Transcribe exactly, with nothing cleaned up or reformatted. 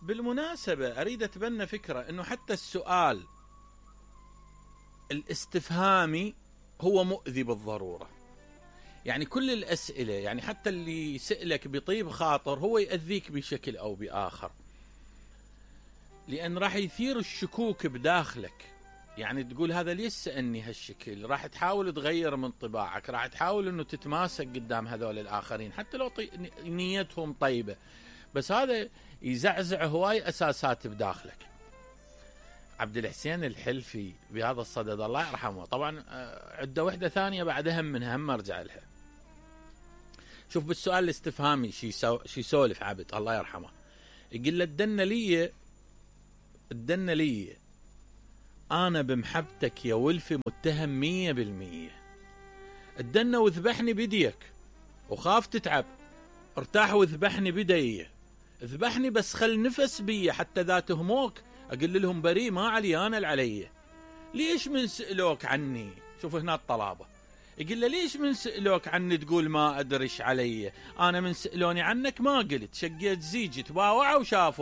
بالمناسبة اريد اتبنى فكرة انه حتى السؤال الاستفهامي هو مؤذي بالضرورة. يعني كل الاسئلة، يعني حتى اللي يسألك بطيب خاطر هو يأذيك بشكل او باخر، لان راح يثير الشكوك بداخلك. يعني تقول هذا ليش سألني هالشكل، راح تحاول تغير من طباعك، راح تحاول انه تتماسك قدام هذول الاخرين حتى لو طي... نيتهم طيبة، بس هذا يزعزع هواي اساسات بداخلك. عبد الحسين الحلفي بهذا الصدد الله يرحمه، طبعا عدة وحدة ثانية بعد هم منها هم ارجع لها. شوف بالسؤال الاستفهامي شي سو... شي سولف عبد الله يرحمه، يقول له الدنة لي الدنة لي انا بمحبتك يا ولفي متهم مية بالمية. الدنة وذبحني بديك وخاف تتعب، ارتاح وذبحني بدي، ذبحني بس خل نفس بي حتى ذا تهموك اقول لهم بريء ما علي انا العلي. ليش من سألوك عني؟ شوف هنا الطلابة، يقول له ليش من سألوك عني تقول ما ادريش علي؟ انا من سألوني عنك ما قلت، شقيت زيجي تباوعوا وشافوا